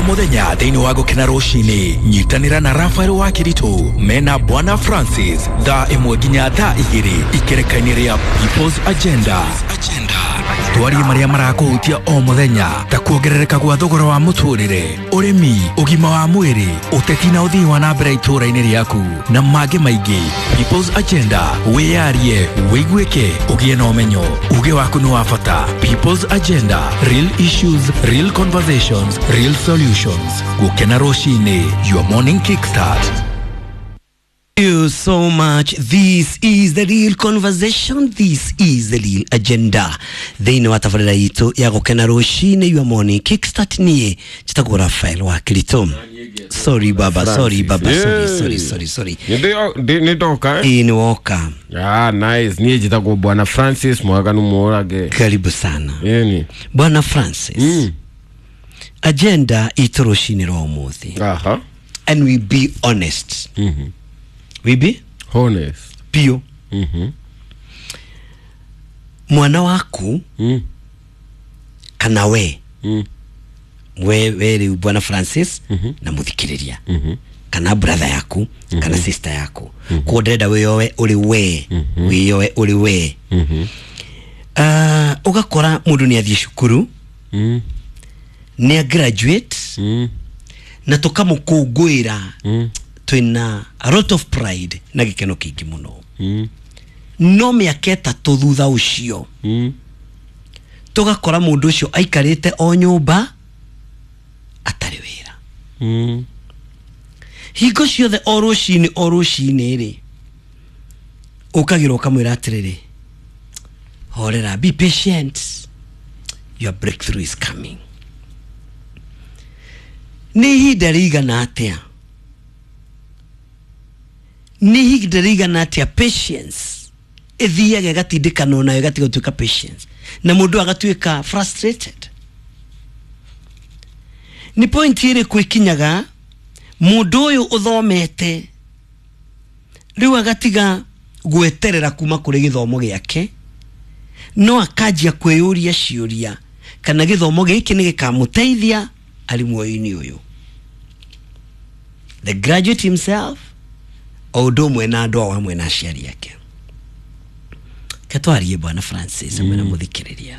Mũthenya thĩinĩ wa Gũkena Rũcinĩ, nyitanĩra na Rafael wa Kĩritũ mena Bwana Francis thaa 1 nginya thaa 2 ikereka-inĩ rĩa People's Agenda. Twarie marĩa marakũhutia o mũthenya ta kuongerereka gwa thogora wa mũtũrĩre, ũrĩmi, ũgima wa mwĩrĩ, ũteti na ũthii wa na mbere itũũra-inĩ rĩaku na mangĩ maingĩ. People's Agenda, wĩyarie, wĩiguĩke, ũgĩe na ũmenyo. Uge waku nĩ wa bata. People's Agenda, real issues, real conversations, real solutions. Gũkena Rũcinĩ, your morning kickstart. Thank you so much. This is the real conversation. This is the real agenda. Thĩinĩ wa tabarĩra itũ ya Gũkena Rũcinĩ, your morning kickstart, niĩ njĩtagwo Rafael wa Kĩritũ. Sorry baba, sorry baba, sorry, sorry, sorry, sorry. Nĩ ndoka, eh? Ĩĩ, nĩ woka. Ah, nice. Niĩ njĩtagwo Bwana Francis Mwaganu Mũrage. Karibu sana. Ĩni. Bwana Francis. Agenda itũ rũcinĩ rwa ũmũthĩ. And we be honest. We be Honest. Biũ. Mwana waku kana we we rĩu Bwana Francis na mũthikĩrĩria kana brother yaku kana sister yaku, koguo ndĩrenda wĩyoe ũrĩ we, wĩyoe ũrĩ we. Ũgakora mũndũ nĩ athiĩ cukuru, nĩ a graduate na tũkamũkũngũĩra twĩna a lot of pride na gĩkeno kĩingĩ mũno, no mĩaka 3 thutha ũcio tũgakora mũndũ ũcio aikarĩte o nyũmba atarĩ wĩra. Hingo ciothe o rũcinĩ o rũcinĩ rĩ, ũkagĩra ũkamwĩra atĩrĩrĩ, horera, be patient, your breakthrough is coming. Nĩ ihinda rĩigana atĩa, nĩ ihinda rĩigana atĩa patience ĩthiaga ĩgatindĩkanwo nayo ĩgatiga gũtuĩka patience na mũndũ agatuĩka frustrated? Nĩ point ĩrĩkũ ĩkinyaga mũndũ ũyũ ũthomete rĩu agatiga gweterera kuma kũrĩ gĩthomo gĩake, no akanjia kwĩyũria ciũria kana gĩthomo gĩkĩ nĩ gĩkamũteithia arĩ muoyo-inĩ ũyũ? The graduate himself o ũndũ ũmwe na andũ ao hamwe na aciari ake. Ketwarie Bwana Francis hamwe na mũthikĩrĩria,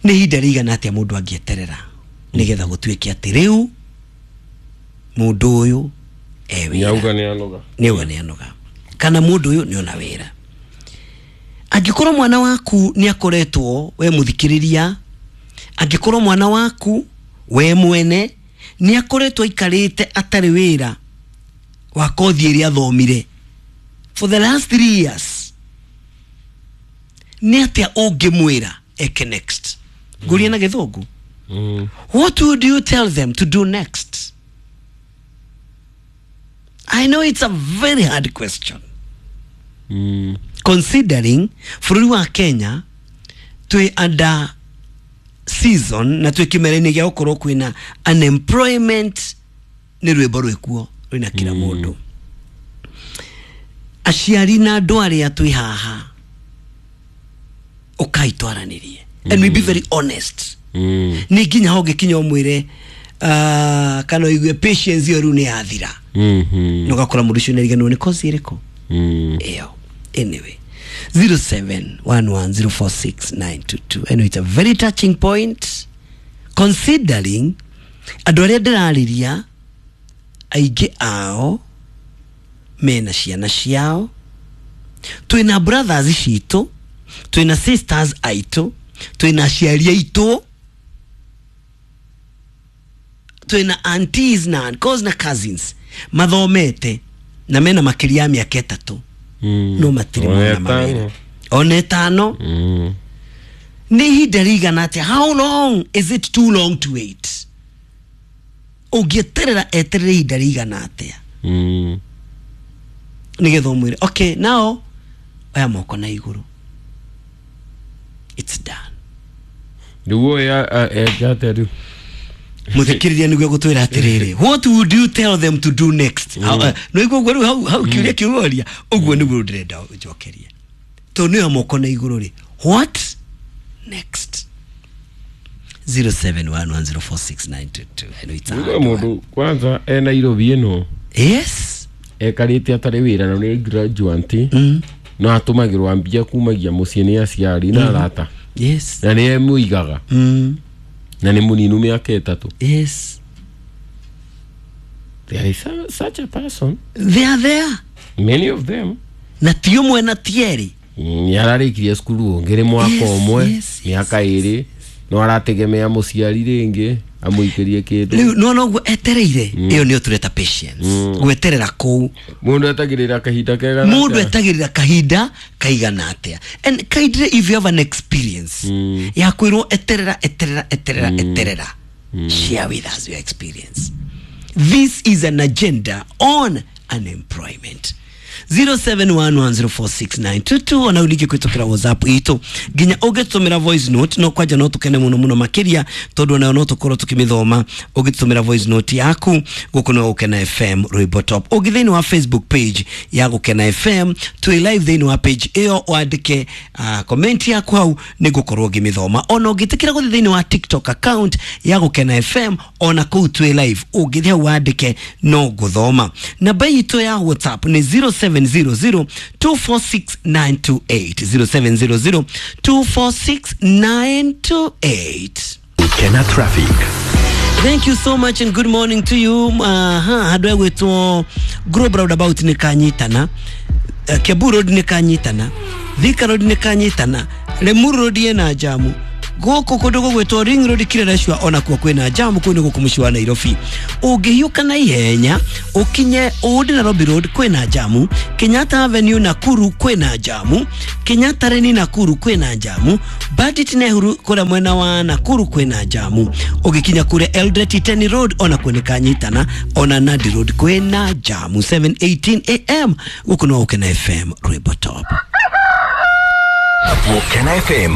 nĩ ihinda rĩigana atĩa mũndũ angĩeterera nĩgetha gũtuĩke atĩ rĩu mũndũ ũyũ e wĩra? Nĩauga nĩ anoga. Nĩauga nĩ anoga kana mũndũ ũyũ nĩ ona wĩra. Angĩkorwo mwana waku nĩ akoretwo, we mũthikĩrĩria, angĩkorwo mwana waku we mwene nĩ akoretwo aikarĩte atarĩ wĩra wa kothi ĩrĩa athomire for the last 3 years, nĩ atĩa ũngĩmwĩra eke next? Ngũria na Gĩthũngũ. What would you tell them to do next? I know it's a very hard question. Considering bũrũri wa Kenya twĩ under season na twĩ kĩmera-inĩ gĩa gũkorwo kwĩna unemployment, nĩ rwĩmbo rwĩkuo rwĩna kila mũndũ. Aciari na andũ arĩa twĩ haha, ũkai twaranĩrie and we be very honest. Nĩ nginya ho ũngĩkinya ũmwĩre kana ũigue patience ĩyo rĩu nĩ yathira na ũgakora mũndũ ũcio nĩariganĩrwo nĩ kosi ĩrĩkũ ĩyo. Anyway, 0711046922. I know it's a very touching point considering andũ arĩa ndĩrarĩria aingĩ ao mena ciana ciao, twĩna brothers citũ, twĩna sisters aitũ, twĩna aciari aitũ, twĩna aunties na uncles na cousins mathomete na mena makĩria ya mĩaka 3 no matirĩ mona mawĩra ona 5. Nĩ ihinda rĩigana atĩa? How long is it too long to wait? Ũngĩeterera eterere ihinda rĩigana atĩa nĩgetha ũmwĩre, okay, now oya moko na igũrũ, it's done? Rĩu ũyũ eke atĩa rĩu? Mũthikĩrĩria nĩguo gũtwĩra atĩrĩrĩ, what would you tell them to do next? No iguo ũguo rĩu hau kĩũria kĩu woria ũguo nĩguo ndĩrenda njokerie, tondũ nĩyo moko na igũrũ rĩ, what next? 0711046922. I know it's a hard one. Mundu kwanza e Nairobi ĩno Yes. ekarĩte atarĩ wĩra na nĩ graduate no atũmagĩrwo mbia kumagia mũciĩ nĩ aciari na arata Yes. na nĩ emũigaga na nĩ mũninu mĩaka 3. Yes. There is such a person. They are there. Many of them. Na ti ũmwe na ti erĩ. Nĩ ararĩkirie cukuru ũngĩ rĩ mwaka Yes, ũmwe yes, mĩaka 2 no arategemea mũciari rĩngĩ amũikĩrie kĩndũ. Rĩu nona ũguo etereire ĩyo nĩyo tũreta patience, gweterera kũu. Mũndũ etagĩrĩra kahinda kega Mũndũ etagĩrĩra kahinda kaigana atĩa? And kindly, if you have an experience ya kwĩrwo eterera, eterera, eterera, eterera, share with us your experience. This is an agenda on unemployment. 0711046922. Ona unike kwitokera WhatsApp itu nginya ũngĩtũmĩra voice note no kwanja no tũkene mũno mũno makĩria tondũ onayo no tũkorwo tũkĩmĩthoma. Ũngĩtũmĩra voice note yaku gũkũ no Gũkena FM Rwĩmbo Top. Ũngĩ thĩinĩ wa Facebook page ya Gũkena FM, twĩ live thĩinĩ wa page ĩyo, wandĩke comment yaku hau nĩ ngũkorwo ngĩmĩthoma. Ona ũngĩtĩkĩra gũthiĩ thĩinĩ wa TikTok account ya Gũkena FM, ona kũu twĩ live, ũngĩthiĩ hau wandĩke no ngũthoma. Namba itũ ya WhatsApp nĩ 0700 246928, 0700 246928. Gukena Traffic. Thank you so much and good morning to you. Aha, handũ egwĩtwo Globe Roundabout nĩ kanyitana, Kiambu Road nĩ kanyitana, Thika Road nĩ kanyitana, Limuru Road ĩna jamu, gũkũ kũndũ gũgwĩtwo Ring Road Kileleshwa onakuo kwĩna jamu, kũu nĩ gũkũ mũciĩ wa Nairobi. Ũngĩhiũka na ihenya ũkinye Old Nairobi Road kwĩna jamu, Kenyatta Avenue Nakuru kwĩna jamu, Kenyatta Lane Nakuru kwĩna jamu, Bandit Nehru kũrĩa mwena wa Nakuru kwĩna jamu, ũgĩkinya kũrĩa Eldoret Iten Road onakuo nĩ kanyitana, ona Nandi Road kwĩna jamu. 7:18 am gũkũ no Gũkena FM Rwĩmbo Top. Gukena FM,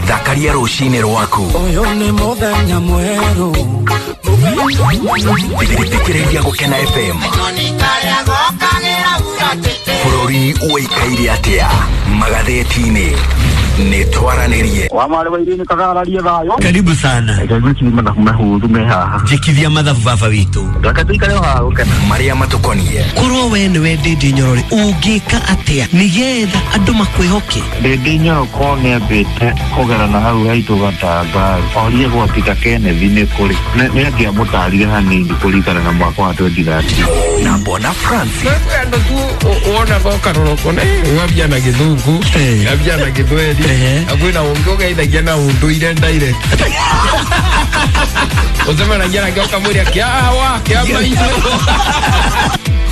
thakaria rũcinĩ rwaku. Ũyũ nĩ mũthenya mwerũ. Thikĩrĩria Gũkena FM. Bũrũri ũikaire atĩa magathĩti-inĩ? Nĩ twaranĩrie. Wa marĩ wa irini kagararie thayũ. Karibu sana. Reke ngwĩcirie mathabu mahũthũ me haha. Njĩkithia mathabu baba witũ. Reke tũikare o haha gũkena. Marĩa matũkonie. Korwo we nĩwe Ndĩndĩ Nyorore, ũngĩka atĩa nĩgetha andũ makwĩhoke? Ndĩndĩ Nyoroko nĩambĩte kũgera na hau haitũ gatanga orie gwatita Kenneth nĩ kũrĩ nĩ angĩamũtarire hanini kũringana na mwaka wa 2013. Na Bwana Francis. Andũ tu wona gokaroroko ne ngabia na gĩthũngũ, ngabia na gĩthweri, na kwĩna ũngĩ ũgeithagia na ũndũire direct ũcemanagia nake ũkamwĩra kĩawa kĩa maitũ.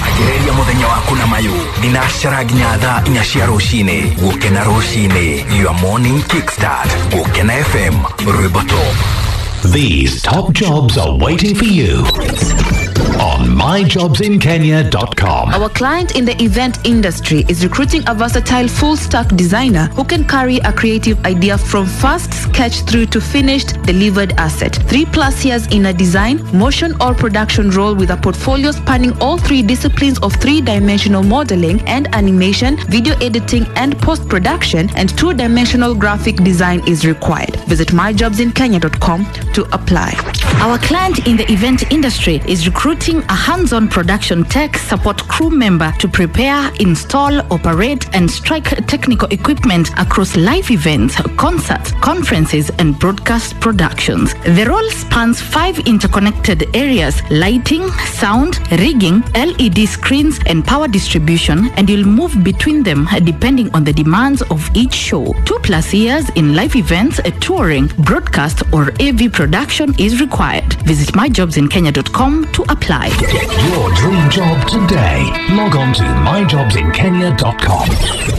Anjĩrĩria mũthenya waku na mayũ thinacara nginya thaa 4 cia rũcinĩ. Gũkena rũcinĩ, your morning kickstart. Gũkena FM Rwĩmbo Top. These top jobs are waiting for you on myjobsinkenya.com. Our client in the event industry is recruiting a versatile full stack designer who can carry a creative idea from first sketch through to finished delivered asset. 3+ years in a design, motion, or production role with a portfolio spanning all three disciplines of three dimensional modeling and animation, video editing and post production, and two dimensional graphic design is required. Visit myjobsinkenya.com to apply. Our client in the event industry is recruiting a hands-on production tech support crew member to prepare, install, operate, and strike technical equipment across live events, concerts, conferences, and broadcast productions. The role spans 5 interconnected areas: lighting, sound, rigging, LED screens, and power distribution, and you'll move between them depending on the demands of each show. 2+ years in live events, touring, broadcast, or AV production is required. Visit myjobsinkenya.com to apply. Get your dream job today. Log on to myjobsinkenya.com.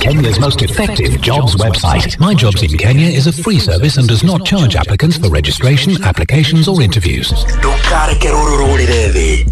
Kenya's most effective jobs website. My Jobs in Kenya is a free service and does not charge applicants for registration, applications, or interviews. Ndũkareke rũrũ rũrĩre thĩ.